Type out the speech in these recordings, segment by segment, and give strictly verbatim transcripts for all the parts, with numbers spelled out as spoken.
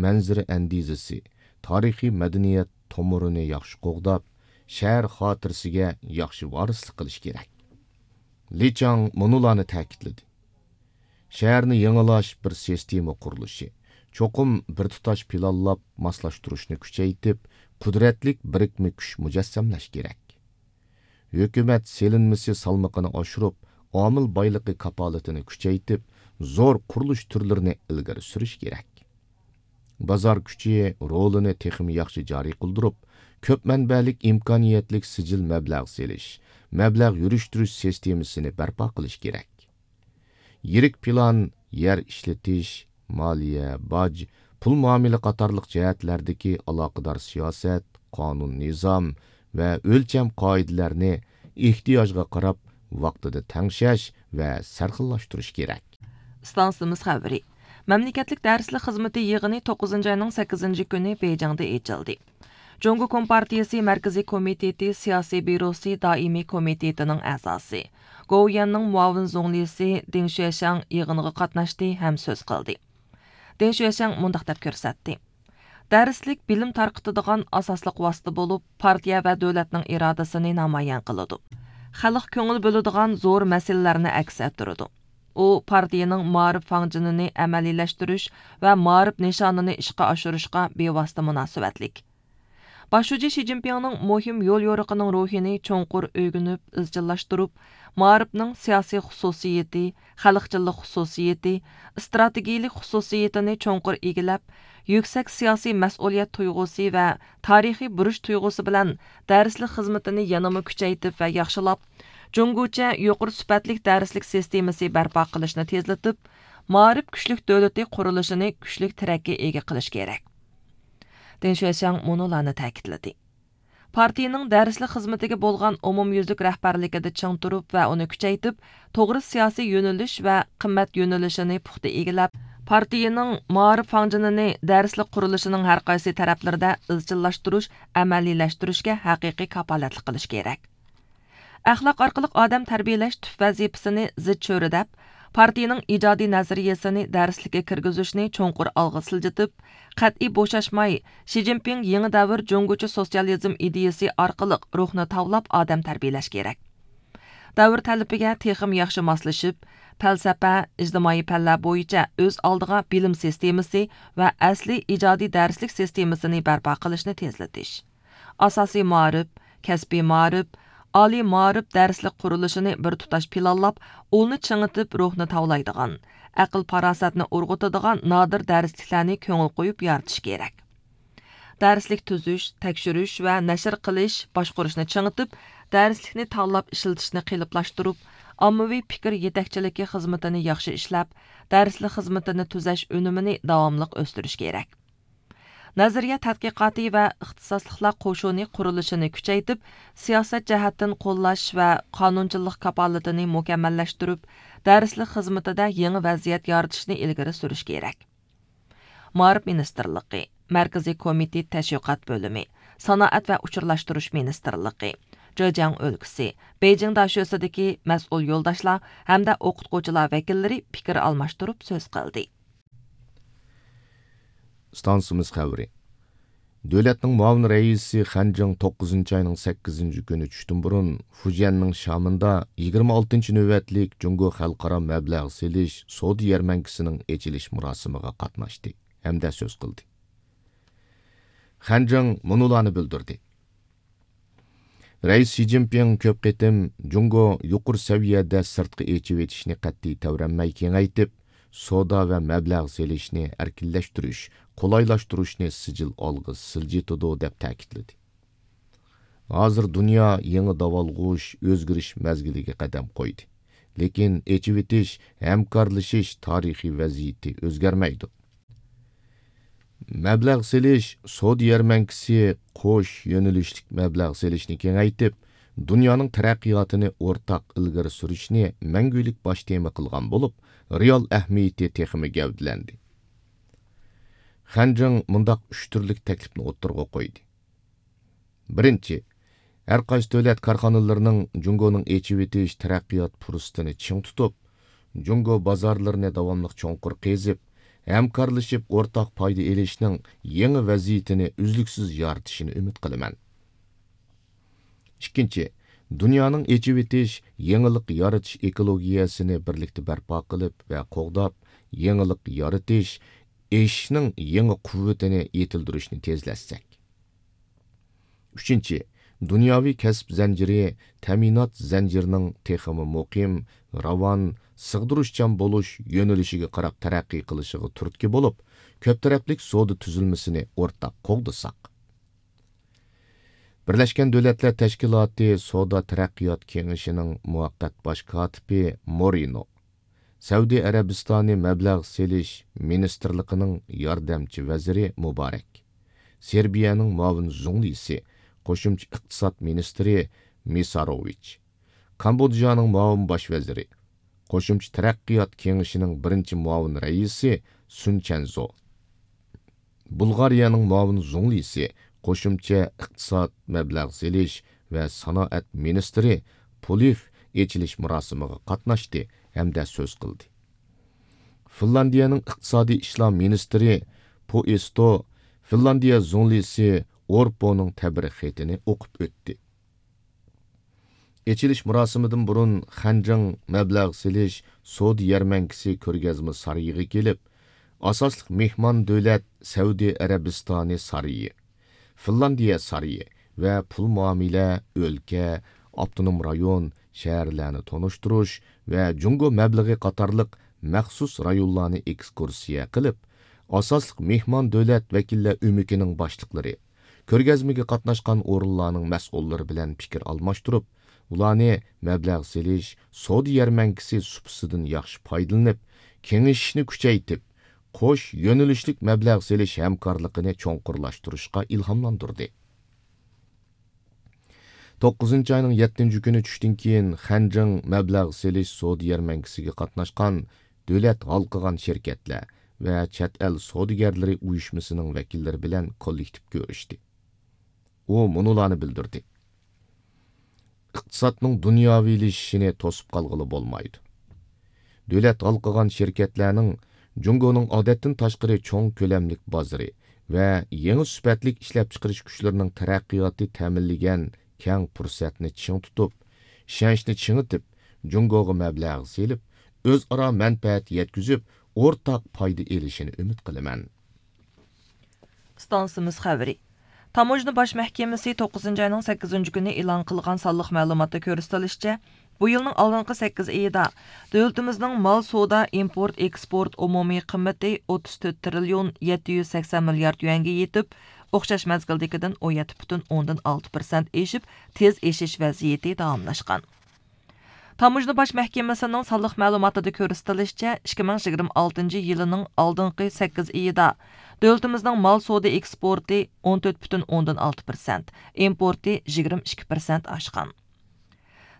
مەنزىرە ئەندىزىسى، تارىخىي مەدەنىيەت تومۇرىنى ياخشى قوغداپ، شەھەر خاتىرىسىگە ياخشى ۋارىسلىق قىلىش كېرەك. لى چاڭ مۇنۇلارنى تەكىتلىدى: شەھەرنى يېڭىلاش بىر سىستېما قۇرۇلۇشى، چوقۇم بىر تۇتاش پىلانلاپ ماسلاشتۇرۇشنى كۈچەيتىپ، قۇدرەتلىك بىرىكمە كۈچ مۇجەسسەملەش كېرەك. ھۆكۈمەت سېلىنمىسى سالمىقىنى ئاشۇرۇپ، ئامىل بايلىقى كاپالىتىنى كۈچەيتىپ، زور قۇرۇلۇش تۈرلىرىنى ئىلگىرى سۈرۈش كېرەك. بازار كۈچى رولىنى تېخىمۇ ياخشى جارى قىلدۇرۇپ، كۆپ مەنبەلىك ئىمكانىيەتلىك سىجىل مەبلەغ سېلىش، مەبلەغ يۈرۈشتۈرۈش سىستېمىسىنى بەرپا قىلىش كېرەك. يىرىك پىلان، يەر ئىشلىتىش، مالىيە، باج، پۇل مۇئامىلە قاتارلىق جەھەتلەردىكى ئالاقىدار سىياسەت، قانۇن، نىزام ۋە ئۆلچەم قائىدىلەرنى ئېھتىياجغا قاراپ ۋاقتىدا تەڭشەش ۋە سەرخىللاشتۇرۇش كېرەك. ئىستانسىمىز خەۋىرى. مەملىكەتلىك دەرسلىك خىزمىتى يىغىنى توققۇزىنچى ئاينىڭ سەككىزىنچى كۈنى بېيجىڭدا ئېچىلدى. جۇڭگو كومپارتىيىسى مەركىزىي كومىتېتى سىياسىي بيۇروسى دائىمىي كومىتېتىنىڭ ئەزاسى، گوۋۇيۈەننىڭ مۇئاۋىن زۇڭلىسى دېڭ شۈەشياڭ يىغىنغا قاتناشتى ھەم سۆز قىلدى. دېڭ شۈەشياڭ مۇنداق دەپ كۆرسەتتى: دەرسلىك بىلىم تارقىتىدىغان ئاساسلىق ۋاسىتە بولۇپ، پارتىيە ۋە دۆلەتنىڭ ئىرادىسىنى نامايان قىلىدۇ. خەلق كۆڭۈل بۆلىدىغان زور مەسىلىلەرنى ئەكس ئەتتۈرىدۇ. ئۇ پارتىيىنىڭ مائارىپ فاڭجېنىنى ئەمەلىيلەشتۈرۈش ۋە مائارىپ نىشانىنى ئىشقا ئاشۇرۇشقا بىۋاسىتە مۇناسىۋەتلىك. باش شۇجى شى جىنپىڭنىڭ مۇھىم يول يورۇقىنىڭ روھىنى چوڭقۇر ئۆگىنىپ ئىزچىللاشتۇرۇپ، مائارىپنىڭ سىياسىي خۇسۇسىيىتى، خەلقچىللىق خۇسۇسىيىتى، ئىستراتېگىيىلىك خۇسۇسىيىتىنى چوڭقۇر ئىگىلەپ، يۈكسەك سىياسىي مەسئۇلىيەت تۇيغۇسى ۋە تارىخىي بۇرچ تۇيغۇسى بىلەن دەرسلىك خىزمىتىنى يەنىمۇ كۈچەيتىپ ۋە ياخشىلاپ، جۇڭگوچە يۇقىرى سۈپەتلىك دەرسلىك سىستېمىسى بەرپا قىلىشنى تېزلىتىپ، مائارىپ كۈچلۈك دۆلىتى قۇرۇلۇشىنى كۈچلۈك تىرەككە ئىگە قىلىش كېرەك. دېڭ شۈەشياڭ مۇنۇلارنى تەكىتلىدى: پارتىيىنىڭ دەرسلىك خىزمىتىگە بولغان ئومۇميۈزلۈك رەھبەرلىكىدە چىڭ تۇرۇپ ۋە ئۇنى كۈچەيتىپ، توغرا سىياسىي يۆنىلىش ۋە قىممەت يۆنىلىشىنى پۇختا ئىگىلەپ، پارتىيىنىڭ مائارىپ فاڭجېنىنى دەرسلىك قۇرۇلۇشىنىڭ ھەر قايسى تەرەپلىرىدە ئىزچىللاشتۇرۇش، ئەمەلىيلەشتۈرۈشكە ھەقىقىي كاپالەتلىك قىلىش كېرەك. ئەخلاق ئارقىلىق ئادەم تەربىيەلەش تۈپ ۋەزىپىسىنى زىچ چۆرىدەپ، پارتىيىنىڭ ئىجادىي نەزەرىيەسىنى دەرسلىككە كىرگۈزۈشنى چوڭقۇر ئالغا سىلجىتىپ، قەتئىي بوشاشماي، شى جىنپىڭ يېڭى دەۋر جۇڭگوچە سوتسىيالىزم ئىدىيىسى ئارقىلىق روھنى تاۋلاپ ئادەم تەربىيەلەش كېرەك. دەۋر تەلىپىگە تېخىمۇ ياخشى ماسلىشىپ، پەلسەپە، ئىجتىمائىي پەنلەر بويىچە ئۆز ئالدىغا بىلىم سىستېمىسى ۋە ئەسلىي ئىجادىي دەرسلىك سىستېمىسىنى بەرپا قىلىشنى تېزلىتىش. ئاساسىي مائارىپ، كەسپىي مائارىپ، ئالىي مائارىپ دەرسلىك قۇرۇلۇشىنى بىر تۇتاش پىلانلاپ، ئۇلنى چىڭىتىپ روھنى تاۋلايدىغان، ئەقىل-پاراسەتنى ئۇرغۇتىدىغان نادىر دەرسلىكلەرنى كۆڭۈل قويۇپ يارىتىش كېرەك. دەرسلىك تۈزۈش، تەكشۈرۈش ۋە نەشر قىلىش، باشقۇرۇشنى چىڭىتىپ، دەرسلىكنى تاللاپ ئىشلىتىشنى قېلىپلاشتۇرۇپ، ئاممىۋى پىكىر يېتەكچىلىكى خىزمىتىنى ياخشى ئىشلەپ، دەرسلىك خىزمىتىنى تۈزەش ئۈنۈمىنى داۋاملىق ئۆستۈرۈش كېرەك. نەزەرىيە تەتقىقاتى ۋە ئىختىساسلىقلار قوشۇنى قۇرۇلۇشىنى كۈچەيتىپ، سىياسەت جەھەتتىن قوللاش ۋە قانۇنچىلىق كاپالىتىنى مۇكەممەللەشتۈرۈپ، دەرسلىك خىزمىتىدە يېڭى ۋەزىيەت يارىتىشنى ئىلگىرى سۈرۈش كېرەك. مائارىپ مىنىستىرلىقى، مەركىزىي كومىتېت تەشۋىقات بۆلۈمى، سانائەت ۋە ئۇچۇرلاشتۇرۇش مىنىستىرلىقى، جېجياڭ ئۆلكىسى، بېيجىڭ داشۆسىدىكى مەسئۇل يولداشلار ھەمدە ئوقۇتقۇچىلار ۋەكىللىرى پىكىر ئالماشتۇرۇپ سۆز قىلدى. ئىستانسىمىز خەۋىرى. دۆلەتنىڭ مۇئاۋىن رەئىسى خەن جىڭ توققۇزىنچى ئاينىڭ سەككىزىنچى كۈنى چۈشتىن بۇرۇن فۇجيەننىڭ شامىندا يىگىرمە ئالتىنچى نۆۋەتلىك جۇڭگو خەلقئارا مەبلەغ سېلىش سودا يەرمەنكىسىنىڭ ئېچىلىش مۇراسىمىغا قاتناشتى ھەمدە سۆز قىلدى. خەن جىڭ مۇنۇلارنى بىلدۈردى. رەئىس شى جىنپىڭ كۆپ قېتىم جۇڭگو يۇقىرى سەۋىيەدە سىرتقا ئېچىۋېتىشنى قەتئىي تەۋرەنمەي كېڭەيتىپ، سودا ۋە مەبلەغ سېلىشنى ئەركىنلەشتۈرۈش، قولايلاشتۇرۇشنى سىجىل ئالغا سىلجىتىدۇ، دەپ تەكىتلىدى. ھازىر دۇنيا يېڭى داۋالغۇش، ئۆزگىرىش مەزگىلىگە قەدەم قويدى. لېكىن ئېچىۋېتىش، ھەمكارلىشىش تارىخىي ۋەزىيىتى ئۆزگەرمەيدۇ. مەبلەغ سېلىش سودا يەرمەنكىسى قوش يۆنىلىشلىك مەبلەغ سېلىشنى كېڭەيتىپ، دۇنيانىڭ تەرەققىياتىنى ئورتاق ئىلگىرى سۈرۈشنى مەڭگۈلۈك باش تېما قىلغان بولۇپ، رېئال ئەھمىيىتى تېخىمۇ گەۋدىلەندى. خەن جىڭ مۇنداق ئۈچ تۈرلۈك تەكلىپنى ئوتتۇرىغا قويدى. بىرىنچى، ھەر قايسى دۆلەت كارخانىلىرىنىڭ جۇڭگونىڭ ئېچىۋېتىش تەرەققىيات پۇرسىتىنى چىڭ تۇتۇپ، جۇڭگو بازارلىرىنى داۋاملىق چوڭقۇر قېزىپ، ھەمكارلىشىپ ئورتاق پايدا ئېلىشنىڭ يېڭى ۋەزىيىتىنى ئۈزلۈكسىز يارىتىشىنى ئۈمىد قىلىمەن. ئىككىنچى، دۇنيانىڭ ئېچىۋېتىش، يېڭىلىق يارىتىش ئېكولوگىيەسىنى بىرلىكتە بەرپا قىلىپ ۋە قوغداپ، يېڭىلىق يارىتىش، ئېشىشنىڭ يېڭى قۇۋۋىتىنى يېتىلدۈرۈشنى تېزلەتسەك. ئۈچىنچى، دۇنياۋى كەسىپ زەنجىرى، تەمىنات زەنجىرىنىڭ تېخىمۇ مۇقىم، راۋان، سىغدۇرۇشچان بولۇش يۆنىلىشىگە قاراپ تەرەققىي قىلىشىغا تۈرتكە بولۇپ، كۆپ تەرەپلىك سودا تۈزۈلمىسىنى ئورتاق قوغدىساق. بىرلەشكەن دۆلەتلەر تەشكىلاتى سودا تەرەققىيات كېڭىشىنىڭ مۇۋەققەت باش كاتىپى مورىنو، سەئۇدى ئەرەبىستانى مەبلەغ سېلىش مىنىستىرلىقىنىڭ ياردەمچى ۋەزىرى مۇبارەك، سېربىيەنىڭ مۇئاۋىن زۇڭلىسى، قوشۇمچە ئىقتىساد مىنىستىرى مىساروۋىچ، كامبودژانىڭ مۇئاۋىن باش ۋەزىرى، قوشۇمچە تەرەققىيات كېڭىشىنىڭ بىرىنچى مۇئاۋىن رەئىسى سۈن چەنزو، بۇلغارىيەنىڭ مۇئاۋىن زۇڭلىسى، قوشۇمچە ئىقتىساد، مەبلەغ سېلىش ۋە سانائەت مىنىستىرى پۇلېف ئېچىلىش مۇراسىمىغا قاتناشتى ھەمدە سۆز قىلدى. فىنلاندىيەنىڭ ئىقتىسادىي ئىشلار مىنىستىرى پوئېستو فىنلاندىيە زۇڭلىسى ئورپونىڭ تەبرىك خېتىنى ئوقۇپ ئۆتتى. ئېچىلىش مۇراسىمىدىن بۇرۇن خەنجىڭ مەبلەغ سېلىش سودا يەرمەنكىسى كۆرگەزمە سارىيىغا كېلىپ، ئاساسلىق مېھمان دۆلەت سەئۇدى ئەرەبىستانى سارىيى، فىنلاندىيە سارىيى ۋە پۇل مۇئامىلە، ئۆلكە، ئاپتونوم رايون، شەھەرلەرنى تونۇشتۇرۇش ۋە جۇڭگو مەبلىغى قاتارلىق مەخسۇس رايونلارنى ئېكسكۇرسىيە قىلىپ، ئاساسلىق مېھمان دۆلەت ۋەكىللەر ئۆمىكىنىڭ باشلىقلىرى، كۆرگەزمىگە قاتناشقان ئورۇنلارنىڭ مەسئۇللىرى بىلەن پىكىر ئالماشتۇرۇپ، ئۇلارنى مەبلەغ سېلىش سودا يەرمەنكىسى سۇپىسىدىن ياخشى پايدىلىنىپ، كېڭىشىشنى كۈچەيتىپ، قوش يۆنىلىشلىك مەبلەغ سېلىش ھەمكارلىقىنى چوڭقۇرلاشتۇرۇشقا ئىلھاملاندۇردى. توققۇزىنچى ئاينىڭ يەتتىنچى كۈنى چۈشتىن كېيىن خەنجىڭ مەبلەغ سېلىش سودا يەرمەنكىسىگە قاتناشقان دۆلەت ھالقىغان شىركەتلەر ۋە چەت ئەل سودىگەرلىرى ئۇيۇشمىسىنىڭ ۋەكىللىرى بىلەن كوللېكتىپ كۆرۈشتى. ئۇ مۇنۇلارنى بىلدۈردى: ئىقتىسادنىڭ دۇنياۋىلىشىشىنى توسۇپ قالغىلى بولمايدۇ. دۆلەت ھالقىغان شىركەتلەرنىڭ جۇڭگونىڭ ئادەتتىن تاشقىرى چوڭ كۆلەملىك بازىرى ۋە يېڭى سۈپەتلىك ئىشلەپچىقىرىش كۈچلىرىنىڭ تەرەققىياتى تەمىنلىگەن كەڭ پۇرسەتنى چىڭ تۇتۇپ، ئىشەنچنى چىڭىتىپ، جۇڭگوغا مەبلەغ سېلىپ، ئۆزئارا مەنپەئەت يەتكۈزۈپ، ئورتاق پايدا ئېلىشىنى ئۈمىد قىلىمەن. ئىستانسىمىز خەۋىرى. تاموژنا باش مەھكىمىسى توققۇزىنچى ئاينىڭ سەككىزىنچى كۈنى ئېلان قىلغان سانلىق مەلۇماتتا كۆرسىتىلىشىچە، بۇ يىلنىڭ ئالدىنقى سەككىز ئېيىدا دۆلىتىمىزنىڭ مال سودا، ئىمپورت، ئېكسپورت ئومۇمىي قىممىتى ئوتتۇز تۆت تىرىليون يەتتە يۈز سەكسەن مىليارد يۈەنگە يېتىپ، ئوخشاش مەزگىلدىكىدىن ئون يەتتە پۈتۈن ئوندىن ئالتە پىرسەنت ئېشىپ، تېز ئېشىش ۋەزىيىتى داۋاملاشقان. تاموژنا باش مەھكىمىسىنىڭ سانلىق مەلۇماتىدا كۆرسىتىلىشىچە، ئىككى مىڭ يىگىرمە ئالتىنچى يىلىنىڭ ئالدىنقى سەككىز ئېيىدا دۆلىتىمىزنىڭ مال سودا ئېكسپورتى ئون تۆت پۈتۈن ئوندىن ئالتە پىرسەنت، ئىمپورتى يىگىرمە ئىككى پىرسەنت ئاشقان.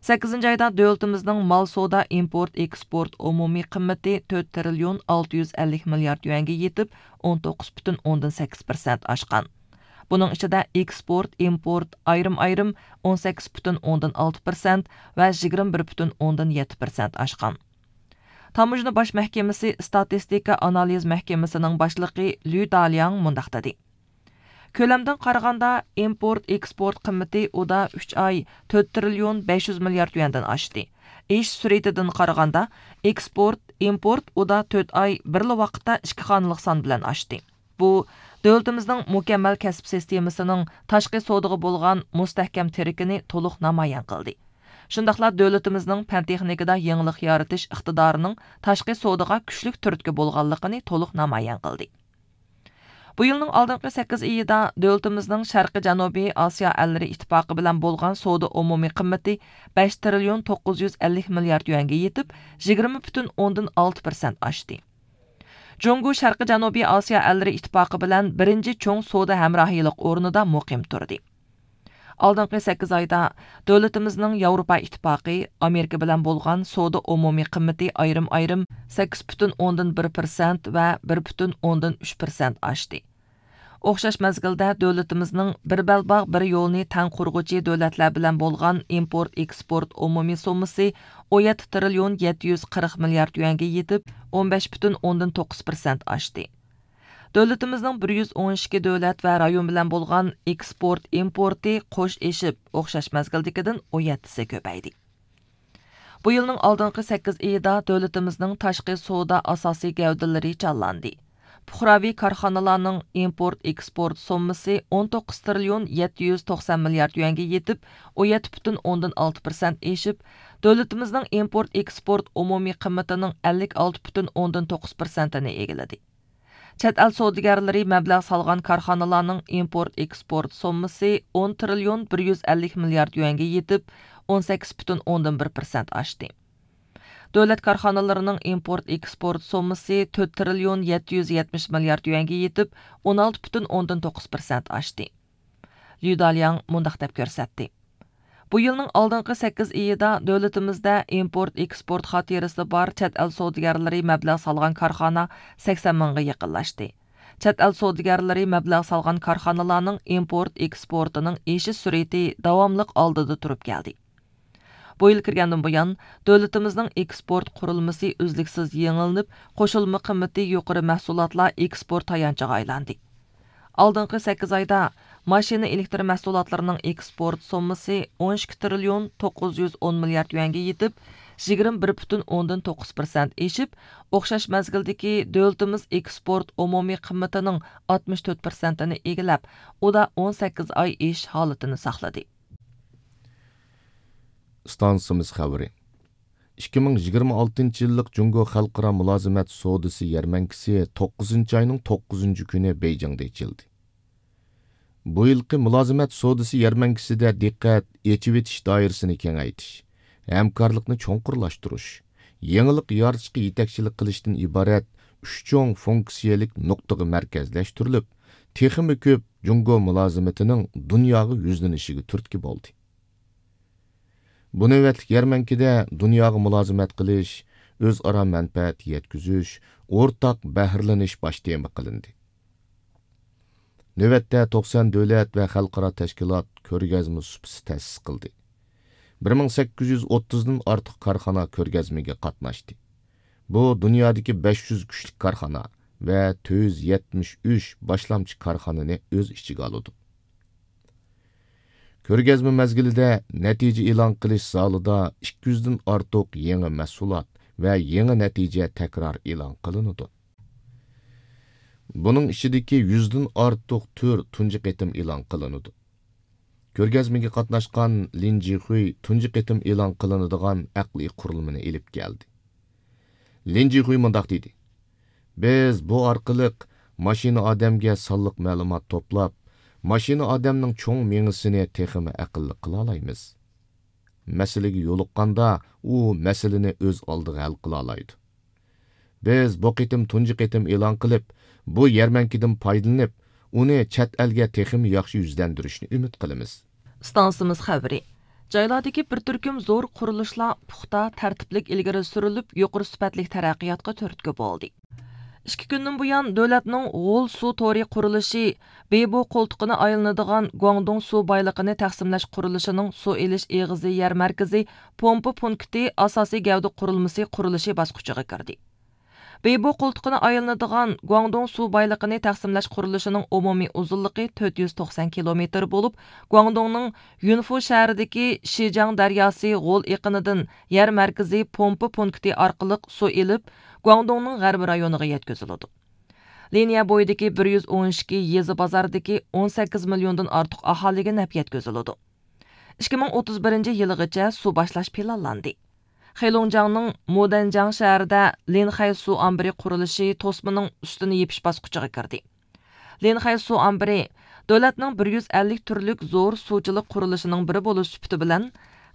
سەككىزىنچى ئايدا دۆلىتىمىزنىڭ مال سودا، ئىمپورت، ئېكسپورت ئومۇمىي قىممىتى تۆت تىرىليون ئالتە يۈز ئەللىك مىليارد يۈەنگە يېتىپ، ئون توققۇز پۈتۈن ئوندىن سەككىز پىرسەنت ئاشقان. بۇنىڭ ئىچىدە ئېكسپورت، ئىمپورت ئايرىم-ئايرىم ئون سەككىز پۈتۈن ئوندىن ئالتە پىرسەنت ۋە يىگىرمە بىر پۈتۈن ئوندىن يەتتە پىرسەنت ئاشقان. تاموژنا باش مەھكىمىسى ئىستاتىستىكا ئانالىز مەھكىمىسىنىڭ باشلىقى لۈ دالياڭ مۇنداق دېدى: كۆلەمدىن قارىغاندا، ئىمپورت، ئېكسپورت قىممىتى ئۇدا ئۈچ ئاي تۆت تىرىليون بەش يۈز مىليارد يۈەندىن ئاشتى. ئېشىش سۈرئىتىدىن قارىغاندا، ئېكسپورت، ئىمپورت ئۇدا تۆت ئاي بىرلا ۋاقىتتا ئىككى خانىلىق سان بىلەن ئاشتى. بۇ، دۆلىتىمىزنىڭ مۇكەممەل كەسىپ سىستېمىسىنىڭ تاشقى سودىغا بولغان مۇستەھكەم تىرىكىنى تولۇق نامايان قىلدى. شۇنداقلا دۆلىتىمىزنىڭ پەن تېخنىكىدا يېڭىلىق يارىتىش ئىقتىدارىنىڭ تاشقى سودىغا كۈچلۈك تۈرتكە بولغانلىقىنى تولۇق نامايان قىلدى. بۇ يىلنىڭ ئالدىنقى سەككىز ئېيىدا دۆلىتىمىزنىڭ شەرقىي جەنۇبىي ئاسىيا ئەللىرى ئىتتىپاقى بىلەن بولغان سودا ئومۇمىي قىممىتى بەش تىرىليون توققۇز يۈز ئەللىك مىليارد يۈەنگە يېتىپ، يىگىرمە پۈتۈن ئوندىن ئالتە پىرسەنت ئاشتى. جۇڭگو شەرقىي جەنۇبىي ئاسىيا ئەللىرى ئىتتىپاقى بىلەن بىرىنچى چوڭ سودا ھەمراھىيلىق ئورنىدا مۇقىم تۇردى. ئالدىنقى سەككىز ئايدا دۆلىتىمىزنىڭ ياۋروپا ئىتتىپاقى، ئامېرىكا بىلەن بولغان سودا ئومۇمىي قىممىتى ئايرىم-ئايرىم سەككىز پۈتۈن ئوندىن بىر پىرسەنت ۋە بىر پۈتۈن ئوندىن ئۈچ پىرسەنت ئاشتى. ئوخشاش مەزگىلدە دۆلىتىمىزنىڭ بىر بەلباغ، بىر يولنى تەڭ قۇرغۇچى دۆلەتلەر بىلەن بولغان ئىمپورت ئېكسپورت ئومۇمىي سوممىسى ئون يەتتە تىرىليون يەتتە يۈز قىرىق مىليارد يۈەنگە يېتىپ، ئون بەش پۈتۈن ئوندىن توققۇز پىرسەنت ئاشتى. دۆلىتىمىزنىڭ بىر يۈز ئون ئىككى دۆلەت ۋە رايون بىلەن بولغان ئېكسپورت ئىمپورتى قوش ئېشىپ، ئوخشاش مەزگىلدىكىدىن ئون يەتتىسى كۆپەيدى. بۇ يىلنىڭ ئالدىنقى سەككىز ئېيىدا دۆلىتىمىزنىڭ تاشقى سودا ئاساسىي گەۋدىلىرى جانلاندى. پۇقراۋى كارخانىلارنىڭ ئىمپورت ئېكسپورت سوممىسى ئون توققۇز تىرىليون يەتتە يۈز توقسان مىليارد يۈەنگە يېتىپ، ئون يەتتە پۈتۈن ئوندىن ئالتە پىرسەنت ئېشىپ، دۆلىتىمىزنىڭ ئىمپورت ئېكسپورت ئومۇمىي قىممىتىنىڭ ئەللىك ئالتە پۈتۈن ئوندىن توققۇز پىرسەنتىنى ئىگىلىدى. چەت ئەل سودىگەرلىرى مەبلەغ سالغان كارخانىلارنىڭ ئىمپورت ئېكسپورت سوممىسى ئون تىرىليون بىر يۈز ئەللىك مىليارد يۈەنگە يېتىپ، ئون سەككىز پۈتۈن ئوندىن بىر پىرسەنت ئاشتى. دۆلەت كارخانىلىرىنىڭ ئىمپورت ئېكسپورت سوممىسى تۆت تىرىليون يەتتە يۈز يەتمىش مىليارد يۈەنگە يېتىپ، ئون ئالتە پۈتۈن ئوندىن توققۇز پىرسەنت ئاشتى. ليۇ دالياڭ مۇنداق دەپ كۆرسەتتى: بۇ يىلنىڭ ئالدىنقى سەككىز ئېيىدا دۆلىتىمىزدە ئىمپورت ئېكسپورت خاتىرىسى بار چەت ئەل سودىگەرلىرى مەبلەغ سالغان كارخانا سەكسەن مىڭغا يېقىنلاشتى. چەت ئەل سودىگەرلىرى مەبلەغ سالغان كارخانىلارنىڭ ئىمپورت ئېكسپورتىنىڭ ئېشىش سۈرئىتى داۋاملىق ئالدىدا تۇرۇپ كەلدى. بۇ يىل كىرگەندىن بۇيان، دۆلىتىمىزنىڭ ئېكسپورت قۇرۇلمىسى ئۈزلۈكسىز يېڭىلىنىپ، قوشۇلما قىممىتى يۇقىرى مەھسۇلاتلار ئېكسپورت تايانچىغا ئايلاندى. ئالدىنقى سەككىز ئايدا ماشىنا ئېلېكتر مەھسۇلاتلىرىنىڭ ئېكسپورت سوممىسى ئون ئىككى تىرىليون توققۇز يۈز ئون مىليارد يۈەنگە يېتىپ، يىگىرمە بىر پۈتۈن ئوندىن توققۇز پىرسەنت ئېشىپ، ئوخشاش مەزگىلدىكى دۆلىتىمىز ئېكسپورت ئومۇمىي قىممىتىنىڭ ئاتمىش تۆت پىرسەنتىنى ئىگىلەپ، ئۇدا ئون سەككىز ئاي ئېشىش ھالىتىنى ساقلىدى. ئىستانسىمىز خەۋىرى. ئىككى مىڭ يىگىرمە ئالتىنچى يىللىق جۇڭگو خەلقئارا مۇلازىمەت سودىسى يەرمەنكىسى توققۇزىنچى ئاينىڭ توققۇزىنچى كۈنى بېيجىڭدا ئېچىلدى. بۇ يىلقى مۇلازىمەت سودىسى يەرمەنكىسىدە دىققەت ئېچىۋېتىش دائىرىسىنى كېڭەيتىش، ھەمكارلىقنى چوڭقۇرلاشتۇرۇش، يېڭىلىق يارىتىشقا يېتەكچىلىك قىلىشتىن ئىبارەت ئۈچ چوڭ فۇنكسىيەلىك نۇقتىغا مەركەزلەشتۈرۈلۈپ، تېخىمۇ كۆپ جۇڭگو مۇلازىمىتىنىڭ دۇنياغا يۈزلىنىشىگە تۈرتكە بولدى. بۇ نۆۋەتلىك يەرمەنكىدە دۇنياغا مۇلازىمەت قىلىش، ئۆزئارا مەنپەئەت يەتكۈزۈش، ئورتاق بەھرىلىنىش باش تېما قىلىندى. نۆۋەتتە توقسان دۆلەت ۋە خەلقئارا تەشكىلات كۆرگەزمە سۇپىسى تەسىس قىلدى. بىر مىڭ سەككىز يۈز ئوتتۇزدىن ئارتۇق كارخانا كۆرگەزمىگە قاتناشتى. بۇ دۇنيادىكى بەش يۈز كۈچلۈك كارخانا ۋە تۆت يۈز يەتمىش ئۈچ باشلامچى كارخانىنى ئۆز ئىچىگە ئالىدۇ. كۆرگەزمە مەزگىلىدە نەتىجە ئېلان قىلىش زالىدا ئىككى يۈزدىن ئارتۇق يېڭى مەھسۇلات ۋە يېڭى نەتىجە تەكرار ئېلان قىلىنىدۇ. بۇنىڭ ئىچىدىكى يۈزدىن ئارتۇق تۈر تۇنجى قېتىم ئېلان قىلىنىدۇ. كۆرگەزمىگە قاتناشقان لىن جىخۇي تۇنجى قېتىم ئېلان قىلىنىدىغان ئەقلىي قۇرۇلمىنى ئېلىپ كەلدى. لىن جىخۇي مۇنداق دېدى: بىز بۇ ئارقىلىق ماشىنا ئادەمگە سانلىق مەلۇمات توپلاپ، ماشىنا ئادەمنىڭ چوڭ مېڭىسىنى تېخىمۇ ئەقىللىق قىلالايمىز. مەسىلىگە يولۇققاندا، ئۇ مەسىلىنى ئۆز ئالدىغا ھەل قىلالايدۇ. بىز بۇ قېتىم تۇنجى قېتىم ئېلان قىلىپ، بۇ يەرمەنكىدىن پايدىلىنىپ، ئۇنى چەت ئەلگە تېخىمۇ ياخشى يۈزلەندۈرۈشنى ئۈمىد قىلىمىز. ئىستانسىمىز خەۋىرى. جايلاردىكى بىر تۈركۈم زور قۇرۇلۇشلار پۇختا، تەرتىپلىك ئىلگىرى سۈرۈلۈپ، يۇقىرى سۈپەتلىك تەرەققىياتقا تۈرتكە بولدى. ئىككى كۈندىن بۇيان، دۆلەتنىڭ غول سۇ تورى قۇرۇلۇشى بېيبو قولتۇقىنى ئايلىنىدىغان گۇاڭدۇڭ سۇ بايلىقىنى تەقسىملەش قۇرۇلۇشىنىڭ سۇ ئېلىش ئېغىزى يەر مەركىزى پومپا پونكىتى ئاساسىي گەۋدە قۇرۇلمىسى قۇرۇلۇشى باسقۇچىغا كىردى. بېيبو قولتۇقىنى ئايلىنىدىغان گۇاڭدۇڭ سۇ بايلىقىنى تەقسىملەش قۇرۇلۇشىنىڭ ئومۇمىي ئۇزۇنلۇقى تۆت يۈز توقسان كىلومېتىر بولۇپ، گۇاڭدۇڭنىڭ يۈنفۇ شەھىرىدىكى شىجاڭ دەرياسى غول ئېقىنىدىن يەر مەركىزى پومپا پونكىتى ئارقىلىق سۇ ئېلىپ، گۇاڭدۇڭنىڭ غەربىي رايونىغا يەتكۈزۈلىدۇ. لىنىيە بويىدىكى بىر يۈز ئون ئىككى يېزا بازاردىكى ئون سەككىز مىليوندىن ئارتۇق ئاھالىگە نەپ يەتكۈزۈلىدۇ. ئىككى مىڭ ئوتتۇز بىرىنچى يىلىغىچە سۇ باشلاش پىلانلاندى. خېلۇڭجياڭنىڭ مودەنجياڭ شەھىرىدە لىنخەي سۇ ئامبىرى قۇرۇلۇشى توسمىنىڭ ئۈستىنى يېپىش باسقۇچىغا كىردى. لىنخەي سۇ ئامبىرى دۆلەتنىڭ بىر يۈز ئەللىك تۈرلۈك زور سۇچىلىق قۇرۇلۇشىنىڭ بىرى بولۇش سۈپىتى بىلەن،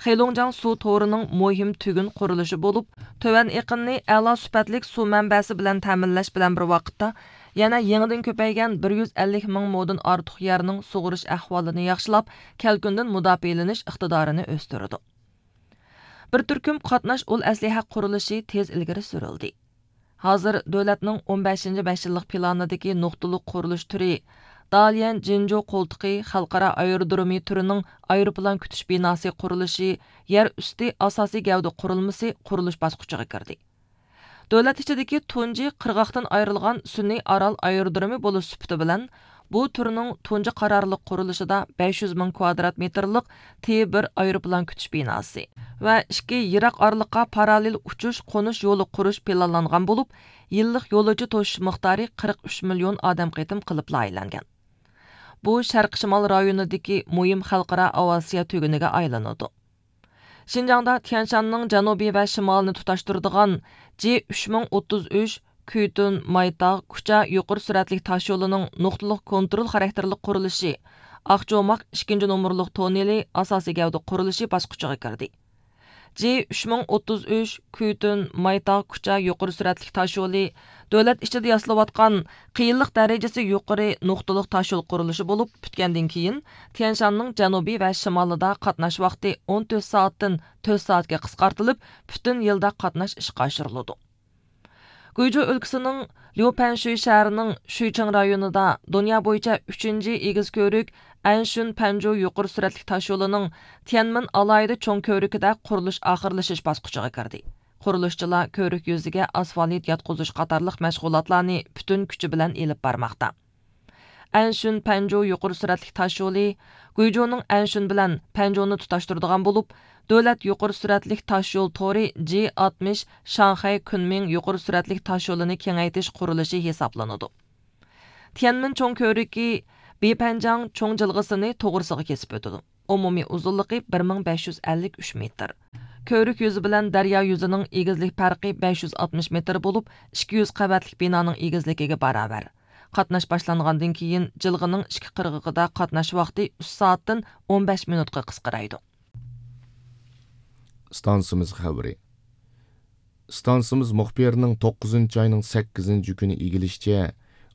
خېلۇڭجياڭ سۇ تورىنىڭ مۇھىم تۈگۈن قۇرۇلۇشى بولۇپ، تۆۋەن ئېقىننى ئەلا سۈپەتلىك سۇ مەنبەسى بىلەن تەمىنلەش بىلەن بىر ۋاقىتتا، يەنە يېڭىدىن كۆپەيگەن بىر يۈز ئەللىك مىڭ مودىن ئارتۇق يەرنىڭ سۇغىرىش ئەھۋالىنى ياخشىلاپ، كەلكۈندىن مۇداپىئەلىنىش ئىقتىدارىنى ئۆستۈرىدۇ. بىر تۈركۈم قاتناش ئۇل ئەسلىھە قۇرۇلۇشى تېز ئىلگىرى سۈرۈلدى. ھازىر دۆلەتنىڭ ئون بەشىنچى بەش يىللىق پىلانىدىكى نۇقتىلىق قۇرۇلۇش تۈرى داليەن جىنجۇ قولتۇقى خەلقئارا ئايرودرومى تۈرىنىڭ ئايروپىلان كۈتۈش بىناسى قۇرۇلۇشى، يەر ئۈستى ئاساسىي گەۋدە قۇرۇلمىسى قۇرۇلۇش باسقۇچىغا كىردى. دۆلەت ئىچىدىكى تۇنجى قىرغاقتىن ئايرىلغان سۈنئىي ئارال ئايرودرومى بولۇش سۈپىتى بىلەن، بۇ تۈرنىڭ تۇنجى قارارلىق قۇرۇلۇشىدا بەش يۈز مىڭ كۋادرات مېتىرلىق تى بىر ئايروپىلان كۈتۈش بىناسى ۋە ئىككى يىراق ئارىلىققا پاراللېل ئۇچۇش، قونۇش يولى قۇرۇش پىلانلانغان بولۇپ، يىللىق يولۇچى توشۇش مىقدارى قىرىق ئۈچ مىليون ئادەم قېتىم قىلىپ لايىھەلەنگەن. بۇ شەرقىي شىمال رايونىدىكى مۇھىم خەلقئارا ئاۋىئاتسىيە تۈگۈنىگە ئايلىنىدۇ. شىنجاڭدا تيەنشاننىڭ جەنۇبى ۋە شىمالىنى تۇتاشتۇرىدىغان جى ئۈچ مىڭ ئوتتۇز ئۈچ كۈيتۈن مايتاغ كۇچا يۇقىرى سۈرئەتلىك تاشيولىنىڭ نۇقتىلىق كونترول خاراكتېرلىك قۇرۇلۇشى، ئاقجوماق ئىككىنچى نومۇرلۇق توننېلى ئاساسىي گەۋدە قۇرۇلۇشى باسقۇچىغا كىردى. جى ئۈچ مىڭ ئوتتۇز ئۈچ كۈيتۈن مايتاغ كۇچا يۇقىرى سۈرئەتلىك تاشيولى دۆلەت ئىچىدە ياسىلىۋاتقان قىيىنلىق دەرىجىسى يۇقىرى نۇقتىلىق تاشيول قۇرۇلۇشى بولۇپ، پۈتكەندىن كېيىن، تيەنشاننىڭ جەنۇبى ۋە شىمالىدا قاتناش ۋاقتى ئون تۆت سائەتتىن تۆت سائەتكە قىسقارتىلىپ، پۈتۈن يىلدا قاتناش ئىشقا ئاشۇرۇلىدۇ. گۇيجۇ ئۆلكىسىنىڭ ليۇپەنشۈي شەھىرىنىڭ شۈيچىڭ رايونىدا دۇنيا بويىچە ئۈچىنچى ئېگىز كۆۋرۈك ئەنشۈن پەنجۇ يۇقىرى سۈرئەتلىك تاشيولىنىڭ تيەنمېن ئالاھىدە چوڭ كۆۋرۈكىدە قۇرۇلۇش ئاخىرلىشىش باسقۇچىغا كىردى. قۇرۇلۇشچىلار كۆۋرۈك يۈزىگە ئاسفالت ياتقۇزۇش قاتارلىق مەشغۇلاتلارنى پۈتۈن كۈچى بىلەن ئېلىپ بارماقتا. ئەنشۈن پەنجۇ يۇقىرى سۈرئەتلىك تاشيولى گۇيجۇنىڭ ئەنشۈن بىلەن پەنجۇنى تۇتاشتۇرىدىغان بولۇپ، دۆلەت يۇقىرى سۈرئەتلىك تاشيول تورى جى ئاتمىش شاڭخەي كۈنمىڭ يۇقىرى سۈرئەتلىك تاشيولىنى كېڭەيتىش قۇرۇلۇشى ھېسابلىنىدۇ. تيەنمېن چوڭ كۆۋرۈكى بېيپەنجاڭ چوڭ جىلغىسىنى توغرىسىغا كېسىپ ئۆتىدۇ. ئومۇمىي ئۇزۇنلۇقى بىر مىڭ بەش يۈز ئەللىك ئۈچ مېتىر. كۆۋرۈك يۈزى بىلەن دەريا يۈزىنىڭ ئېگىزلىك پەرقى بەش يۈز ئاتمىش مېتىر بولۇپ، ئىككى يۈز قەۋەتلىك بىنانىڭ ئېگىزلىكىگە باراۋەر. قاتناش باشلانغاندىن كېيىن، جىلغىنىڭ ئىككى قىرغىقىدا قاتناش ۋاقتى ئۈچ سائەتتىن ئون بەش مىنۇتقا قىسقىرايدۇ. ئىستانسىمىز خەۋىرى. ئىستانسىمىز مۇخبىرىنىڭ توققۇزىنچى ئاينىڭ سەككىزىنچى كۈنى ئىگىلىشىچە،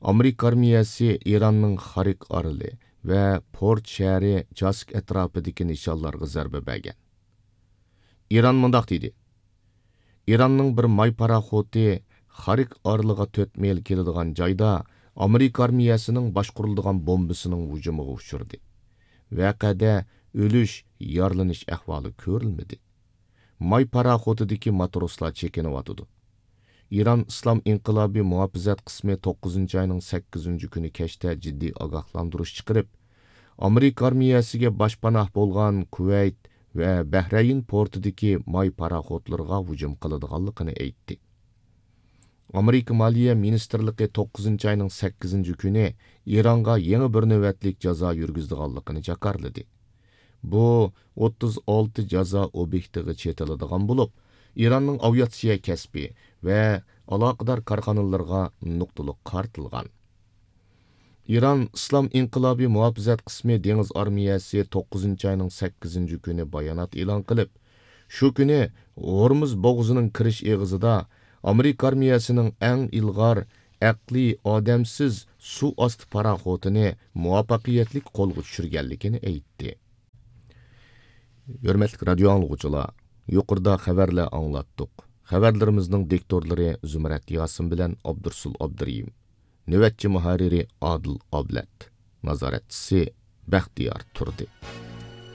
ئامېرىكا ئارمىيەسى ئىراننىڭ خارىك ئارىلى ۋە پورت شەھىرى چاسك ئەتراپىدىكى نىشانلارغا زەربە بەرگەن. ئىران مۇنداق دېدى: ئىراننىڭ بىر ماي پاراخوتى خارىك ئارىلىغا تۆت مىل كېلىدىغان جايدا ئامېرىكا ئارمىيەسىنىڭ باشقۇرۇلىدىغان بومبىسىنىڭ ھۇجۇمىغا ئۇچرىدى. ۋەقەدە ئۆلۈش، يارىلىنىش ئەھۋالى كۆرۈلمىدى. ماي پاراخوتىدىكى ماتروسلار چېكىنىۋاتىدۇ. ئىران ئىسلام ئىنقىلابى مۇھاپىزەت قىسمى توققۇزىنچى ئاينىڭ سەككىزىنچى كۈنى كەچتە جىددىي ئاگاھلاندۇرۇش چىقىرىپ، ئامېرىكا ئارمىيەسىگە باشپاناھ بولغان كۇۋەيت ۋە بەھرەيىن پورتىدىكى ماي پاراخوتلىرىغا ھۇجۇم قىلىدىغانلىقىنى ئېيتتى. ئامېرىكا مالىيە مىنىستىرلىقى توققۇزىنچى ئاينىڭ سەككىزىنچى كۈنى ئىرانغا يېڭى بىر نۆۋەتلىك جازا يۈرگۈزىدىغانلىقىنى جاكارلىدى. بۇ ئوتتۇز ئالتە جازا ئوبيېكتىغا چېتىلىدىغان بولۇپ، ئىراننىڭ ئاۋىئاتسىيە كەسپى ۋە ئالاقىدار كارخانىلىرىغا نۇقتىلىق قارىتىلغان. ئىران ئىسلام ئىنقىلابى مۇھاپىزەت قىسمى دېڭىز ئارمىيەسى توققۇزىنچى ئاينىڭ سەككىزىنچى كۈنى بايانات ئېلان قىلىپ، شۇ كۈنى ھورمۇز بوغۇزىنىڭ كىرىش ئېغىزىدا ئامېرىكا ئارمىيەسىنىڭ ئەڭ ئىلغار ئەقلىي ئادەمسىز سۇ ئاستى پاراخوتىنى مۇۋەپپەقىيەتلىك قولغا چۈشۈرگەنلىكىنى ئېيتتى. ھۆرمەتلىك رادىيو ئاڭلىغۇچىلار، يۇقىرىدا خەۋەرلەر ئاڭلاتتۇق. خەۋەرلىرىمىزنىڭ دىكتورلىرى زۇمرەت ياسىن بىلەن ئابدۇرسۇل ئابدۇرېھىم. نۆۋەتچى مۇھەررىرى ئادىل ئابلەت. نازارەتچىسى بەختىيار تۇردى.